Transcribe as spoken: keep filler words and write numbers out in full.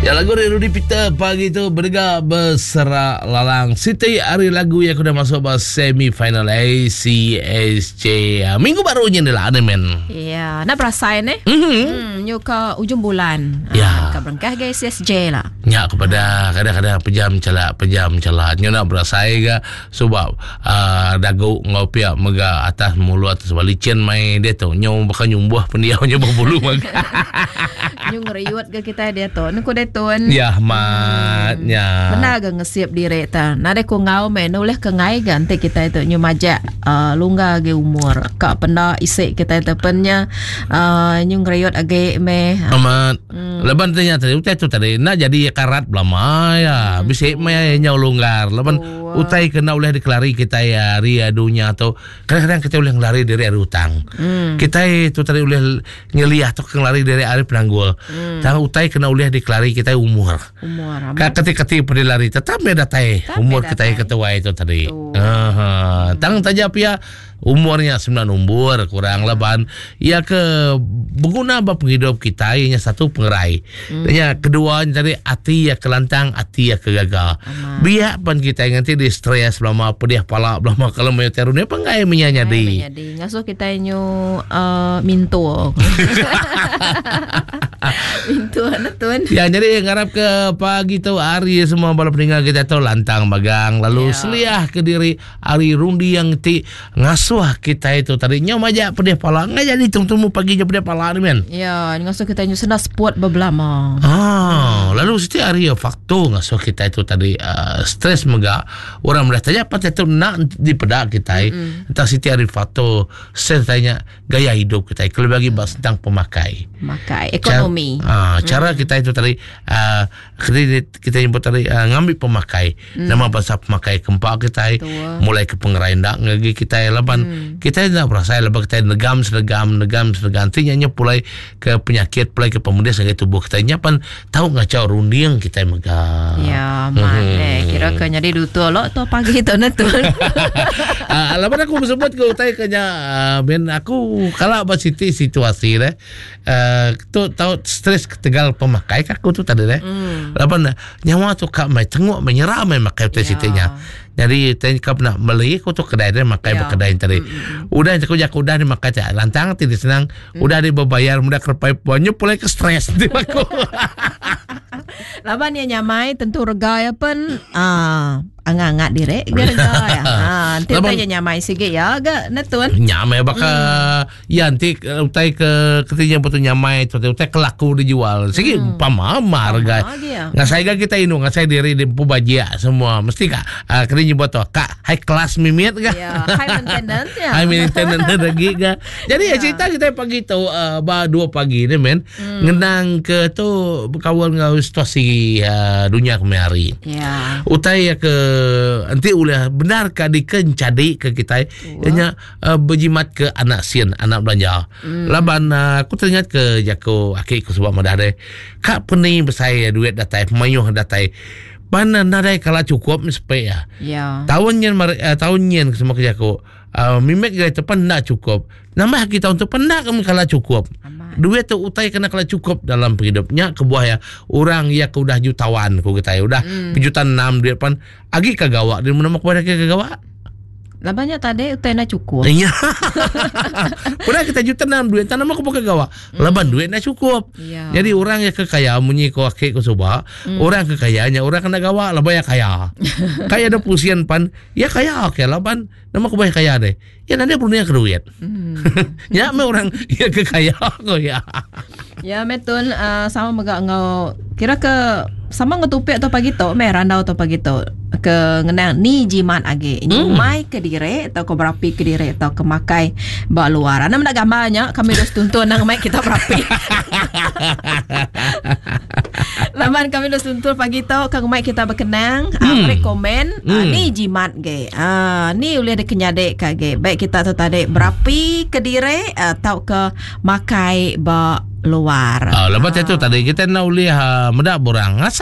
Ya, lagu dari Rudy Peter pagi tu berega berserak lalang. Siti hari lagu yang sudah masuk ke semi final A C S J. Ah, minggu barunya ni lah, men. Ya, nak perasan eh. Mm-hmm. Hmm, nyu ke ujung bulan. Ya. Ah, ke berengkah ke S S J lah. Ya, kepada kadang-kadang pejam celak, pejam celak. Nyo nak berasai ke sebab uh, dagu ngau pihak mega atas mulut atas licin mai dia tu. Nyo bakal nyumbuh pendiau nyo berbulu maga. Nyu ngeriut ke kita dia tu. Ni ku dia tu. Ya, mat ya. Benar ke ngesiap diri ta. Nade ku ngau me nulih ke ngai ke nanti kita itu nyu majak uh, lungga ge umur. Kak penda isi kita itu pennya uh, nyu ngeriut age me. Amat. Hmm. Leban tanya tadi, utai tu tadi nak jadi karat belama ya. Hmm. Bisa mai nyau longgar. Leban Oh. utai kena oleh dikelari kita ya ria dunia tu. Kadang-kadang kita boleh ngelari dari hari utang. Hmm. Kita itu tadi boleh nyeliah tu ngelari dari hari penanggul. Hmm. Tang utai kena oleh dikelari kita umur. Umur amat. Kak keti-keti pada lari tetap dia datai Tetap umur dia kita datai. Ketua itu tadi. Betul. Aha. Tang taja pia umurnya sembilan umur kurang leban ia ke berguna ba penghidup kita ianya satu pengerai. Hmm. Ya, kedua tadi hati ya kelantang, hati ya kegagal. Biar pan kita nanti di stres belama, pedih pala belama kalau mau terune penggai menyanyadi. Jadi ngasuh kita nyu uh, mintu. Mintu anak tuan. Ya, jadi ngarap ke pagi tu hari semua bala peninggal kita tu lantang bagang lalu Ya. seliah ke diri hari rundi yang ti ngasuh kita itu tadi nyom aja pedih pala nggak jadi tunggu pagi je pedih pala ni, men. Ya, ngasuh kita nyu senang sport berbelama. Ah, lalu setiap hari ya faktor ngasuh kita itu tadi uh, stres mega orang melihat tanya apa itu nak dipedak kita mm. Entah setiap hari faktor stres tanya gaya hidup kita kalau bagi bahas tentang pemakai. Makai ekonomi. Cara, ah, cara kita itu tadi uh, kita, kita nyebut tadi uh, ngambil pemakai. Mm. Nama bahasa pemakai kempak kita Betul. mulai ke pengerai ndak ngagi kita laban mm. Kita nak berasa laban kita negam senegam negam senegam nanti nya pulai ke penyakit, pulai ke pemuda sehingga tubuh kita nya pan tahu ngacau runding kita mega. Ya, man eh kira ke jadi dutu lo tu pagi tu na tu. Ah, laban aku sebut ke utai kenya uh, ben aku kalau apa siti situasi deh. Uh, tu tahu stres ketegal pemakai aku tu tadi deh. Mm. Laban nyawa tu kak mai tengok menyerah mai makai utai Ya. sitinya. Jadi tanya kau nak beli aku tu kedai dia makai Ya. berkedai tadi. Udah aku jaku udah dimakai tak lantang tidak senang. Udah dia berbayar mudah kerpai puannya pulai ke stres di aku. Laban ya nyamai tentu rega ya pen ah angat-angat direk ge rega ya. Ha, nanti Laban- tanya nyamai sikit ya ga na tuan. Nyamai baka mm. ya nanti eh, utai ke ketinya betul nyamai tu utai kelaku dijual. Sigi hmm. pamama harga. lagi ya. Nggak saya kita inu nggak saya diri di pubajia semua mesti kak uh, kena nyebut tuh kak high class mimit kak. Ya, high maintenance ya. High maintenance lagi kak. Jadi ya cerita kita pagi tu uh, ba dua pagi ni men hmm. ngenang ke tu berkawal dengan situasi uh, dunia kemari. Ya. Utai ya ke nanti ulah benar ka dikencadi ke kita ianya uh, berjimat ke anak sien anak belanja. Hmm. Laban uh, aku teringat ke jako akik ku sebab madah deh. Kak peni besai duit datai mayuh datai. Mana nadai kala cukup sepe ya. Ya. Tahun nyen uh, tahun nyen semua kerja aku. Uh, mimek gaya tu nak cukup. Nambah kita untuk pendak kamu kala cukup. Amat. Duit tu utai kena kala cukup dalam penghidupnya kebuah ya. Orang ya ke udah jutawan ku kita ya udah hmm. juta enam duit pan agi kagawak di mana kepada ke kagawak. Labannya tadi utai na cukup. Iya. Udah kita juta enam duit tanam aku pakai gawak. Laban duit nak cukup. Ya. Jadi orang yang kekaya munyi ko akik ko suba, hmm. orang kekayaannya orang kena gawak lah bayar kaya. Kaya ada pusian pan, ya kaya okey laban nama aku bayar kaya deh. Ya nanti perlunya ke duit. Hmm. Ya me orang ya kekaya ko ya. Ya metun uh, sama mega ngau kira ke sama ngetupik atau pagi tu meh randau atau pagi tu ke ngenang ni jimat age Hmm. nyumai ke dire atau ke berapi ke dire atau ke makai ba luar. Ana nak gambarnya kami terus tuntun nang mai kita berapi. Laman kami terus tuntun pagi tu kang mai kita berkenang hmm. uh, rekomen hmm. uh, ni jimat ge. Ah uh, ni boleh dikenyadek ka ge. Baik kita tu tadi berapi ke dire atau ke makai ba luar. Ah, lepas itu tadi kita nak boleh uh, medak borang.